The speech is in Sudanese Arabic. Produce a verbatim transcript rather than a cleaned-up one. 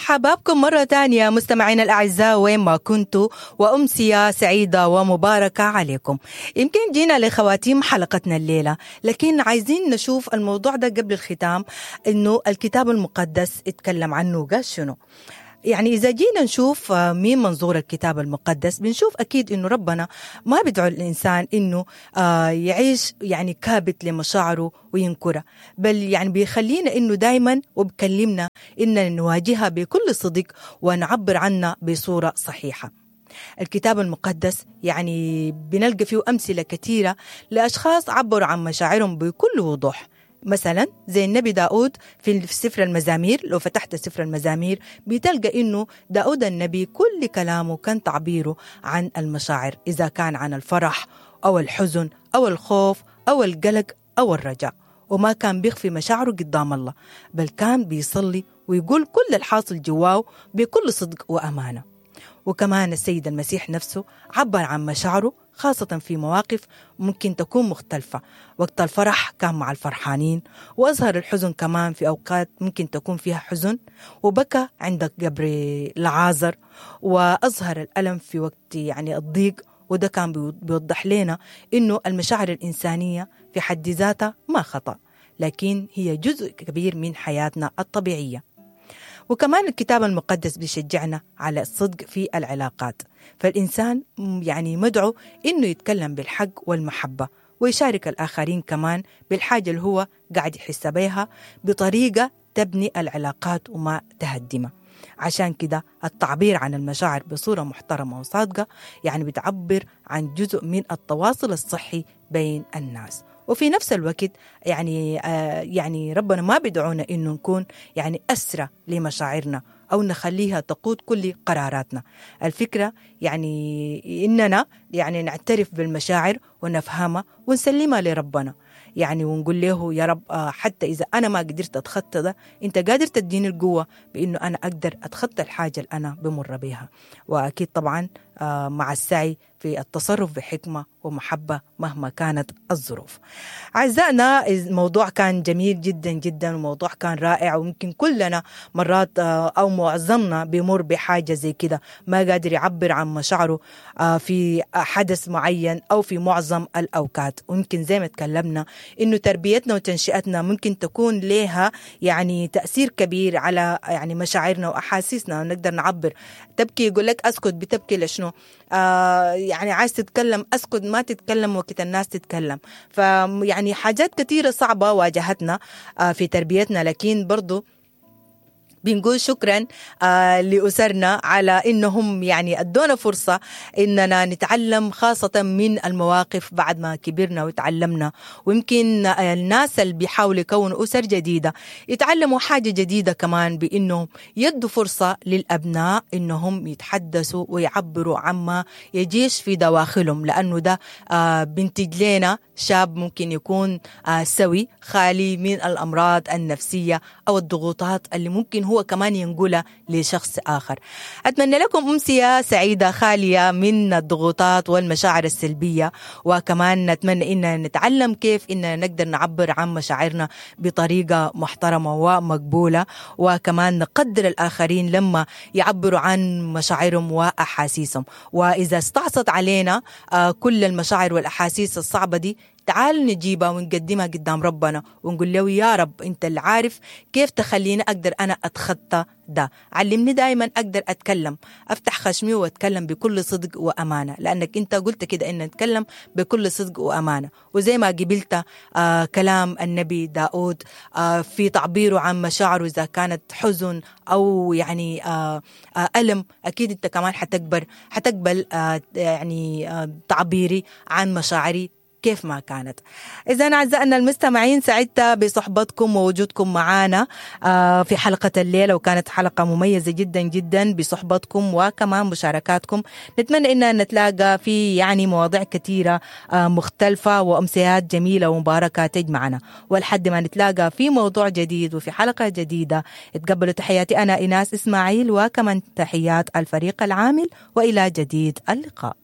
حبابكم مرة تانية مستمعينا الأعزاء وين ما كنتوا، وأمسية سعيدة ومباركة عليكم. يمكن جينا لخواتيم حلقتنا الليلة، لكن عايزين نشوف الموضوع ده قبل الختام، إنه الكتاب المقدس اتكلم عنه قال شنو. يعني إذا جينا نشوف من منظور الكتاب المقدس بنشوف أكيد إنه ربنا ما بيدعو الإنسان إنه يعيش يعني كابت لمشاعره وينكرها، بل يعني بيخلينا إنه دايما وبكلمنا إننا نواجهها بكل صدق ونعبر عنها بصورة صحيحة. الكتاب المقدس يعني بنلقى فيه أمثلة كثيرة لأشخاص عبروا عن مشاعرهم بكل وضوح. مثلا زي النبي داود في سفر المزامير، لو فتحت سفر المزامير بتلقى إنه داود النبي كل كلامه كان تعبيره عن المشاعر، إذا كان عن الفرح أو الحزن أو الخوف أو القلق أو الرجاء، وما كان بيخفي مشاعره قدام الله، بل كان بيصلي ويقول كل الحاصل جواه بكل صدق وأمانة. وكمان السيد المسيح نفسه عبر عن مشاعره خاصة في مواقف ممكن تكون مختلفة. وقت الفرح كان مع الفرحانين، وأظهر الحزن كمان في أوقات ممكن تكون فيها حزن، وبكى عند قبر لعازر، وأظهر الألم في وقت يعني الضيق. وده كان بيوضح لنا إنه المشاعر الإنسانية في حد ذاتها ما خطأ، لكن هي جزء كبير من حياتنا الطبيعية. وكمان الكتاب المقدس بيشجعنا على الصدق في العلاقات، فالإنسان يعني مدعو إنه يتكلم بالحق والمحبة، ويشارك الآخرين كمان بالحاجة اللي هو قاعد يحس بيها بطريقة تبني العلاقات وما تهدمها. عشان كده التعبير عن المشاعر بصورة محترمة وصادقة يعني بتعبر عن جزء من التواصل الصحي بين الناس. وفي نفس الوقت يعني آه يعني ربنا ما بيدعونا إنه نكون يعني أسرى لمشاعرنا أو نخليها تقود كل قراراتنا. الفكرة يعني إننا يعني نعترف بالمشاعر ونفهمها ونسلمها لربنا، يعني ونقول له يا رب حتى إذا أنا ما قدرت أتخطى ده، أنت قادر تديني القوة بإنه أنا أقدر أتخطى الحاجة اللي أنا بمر بيها. وأكيد طبعا مع السعي في التصرف بحكمة ومحبة مهما كانت الظروف. أعزائنا، الموضوع كان جميل جدا جدا، وموضوع كان رائع، وممكن كلنا مرات أو معظمنا بيمر بحاجة زي كده، ما قادر يعبر عن مشاعره في حدث معين أو في معظم الأوقات. وممكن زي ما تكلمنا إنه تربيتنا وتنشئتنا ممكن تكون لها يعني تأثير كبير على يعني مشاعرنا وأحاسيسنا، ونقدر نعبر. تبكي يقول لك أسكت، بتبكي لشنو؟ آه يعني عايز تتكلم أسكت، ما تتكلم وقت الناس تتكلم. فيعني حاجات كثيرة صعبة واجهتنا آه في تربيتنا، لكن برضو بنقول شكرا آه لأسرنا على إنهم يعني أدونا فرصة إننا نتعلم، خاصة من المواقف بعد ما كبرنا وتعلمنا. ويمكن الناس اللي بيحاولوا يكونوا أسر جديدة يتعلموا حاجة جديدة كمان، بإنهم يدوا فرصة للأبناء إنهم يتحدثوا ويعبروا عما يجيش في دواخلهم، لأنه ده آه بنتج لنا شاب ممكن يكون آه سوي، خالي من الأمراض النفسية أو الضغوطات اللي ممكن هو كمان ينقلها لشخص آخر. أتمنى لكم أمسية سعيدة خالية من الضغوطات والمشاعر السلبية، وكمان نتمنى إن نتعلم كيف إن نقدر نعبر عن مشاعرنا بطريقة محترمة ومقبولة، وكمان نقدر الآخرين لما يعبروا عن مشاعرهم وأحاسيسهم. وإذا استعصت علينا كل المشاعر والأحاسيس الصعبة دي، تعال نجيبها ونقدمها قدام ربنا ونقول له يا رب انت اللي عارف كيف تخليني اقدر انا اتخطى ده، علمني دايما اقدر اتكلم، افتح خشمي واتكلم بكل صدق وامانه، لانك انت قلت كده ان نتكلم بكل صدق وامانه. وزي ما قبلت آه كلام النبي داود آه في تعبيره عن مشاعره اذا كانت حزن او يعني آه آه الم، اكيد انت كمان حتكبر حتقبل آه يعني آه تعبيري عن مشاعري كيف ما كانت. إذا أعزائنا المستمعين، سعدت بصحبتكم ووجودكم معنا في حلقة الليلة، وكانت حلقة مميزة جدا جدا بصحبتكم وكمان مشاركاتكم. نتمنى إن نتلاقى في يعني مواضيع كثيرة مختلفة وأمسيات جميلة ومباركة تجمعنا، ولحد ما نتلاقى في موضوع جديد وفي حلقة جديدة، تقبلوا تحياتي أنا إيناس إسماعيل، وكمان تحيات الفريق العامل، وإلى جديد اللقاء.